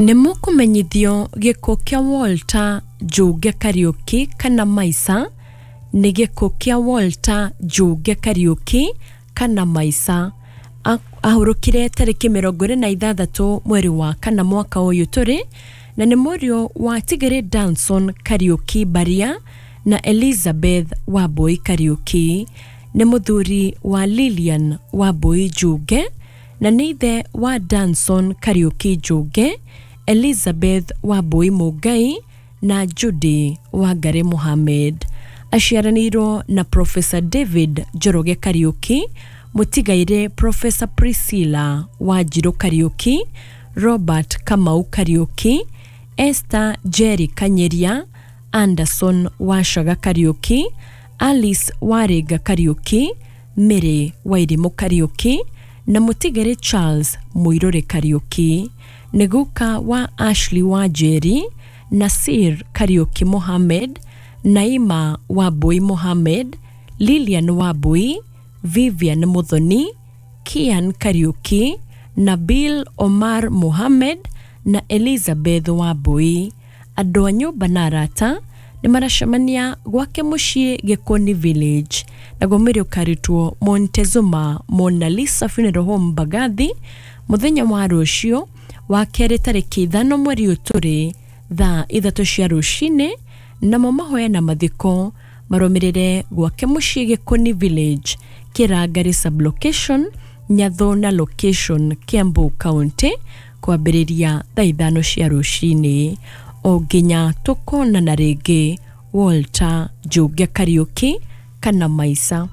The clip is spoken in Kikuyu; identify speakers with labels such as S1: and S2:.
S1: Nĩ mũkũmenyithio gĩkuũ kĩa Walter Njũge Kariũki kana Maica nĩ gĩkuũ kĩa Walter Njũge Kariũki kana Maica. Ahurũkire tarĩki 26 mweri wa kana mwaka ũyũ tũrĩ, na nĩ mũriũ wa Tigere Danson Kariũki Mbaria na Elizabeth Wambui Kariũki. Nĩ mũthuri wa Lilian Wambui Njũge na nĩ ithe wa Danson Kariũki Njũge, Elizabeth Wambui Mũngai na Judy Wangari Mohammed. Aciaranĩirwo na Professor David Njoroge Kariũki, mũtigairĩ Professor Priscilla Wanjirũ Kariũki, Robert Kamau Kariũki, Esther Jerry Kanyeria, Anderson Wacaga Kariũki, Alice Warĩnga Kariũki, Mary Wairimũ Kariũki na mũtigairĩ Charles Mũirũrĩ Kariũki. Nĩ guka wa Ashley Wanjeri, Nasir Kariũki Mohammed, Naima Wambui Mohammed, Lilian Wambui, Vivian Muthoni, Kian Kariũki, Nabil Omar Mohammed na Elizabeth Wambui. Andũ a nyũmba na arata nĩ maracemania gwake mũciĩ Gĩkũni Village, naguo mwĩrĩ ũkarutwo Montezuma Mona Lisa Funeral Home Mbagathi mũthenya wa rũciũ wa kerĩ tarĩki 5 mweri ũyũ tũrĩ thaa 3 cia rũcinĩ, namo mahoya na mathiko marũmĩrĩre gwake mũciĩ Gĩkũni Village, Kĩrangari sublocation, Nyathona location, Kiambu County, kwambĩrĩria thaa 5 cia rũcinĩ. O nginya tũkonana rĩngĩ, Walter Njũge Kariũki kana Maica.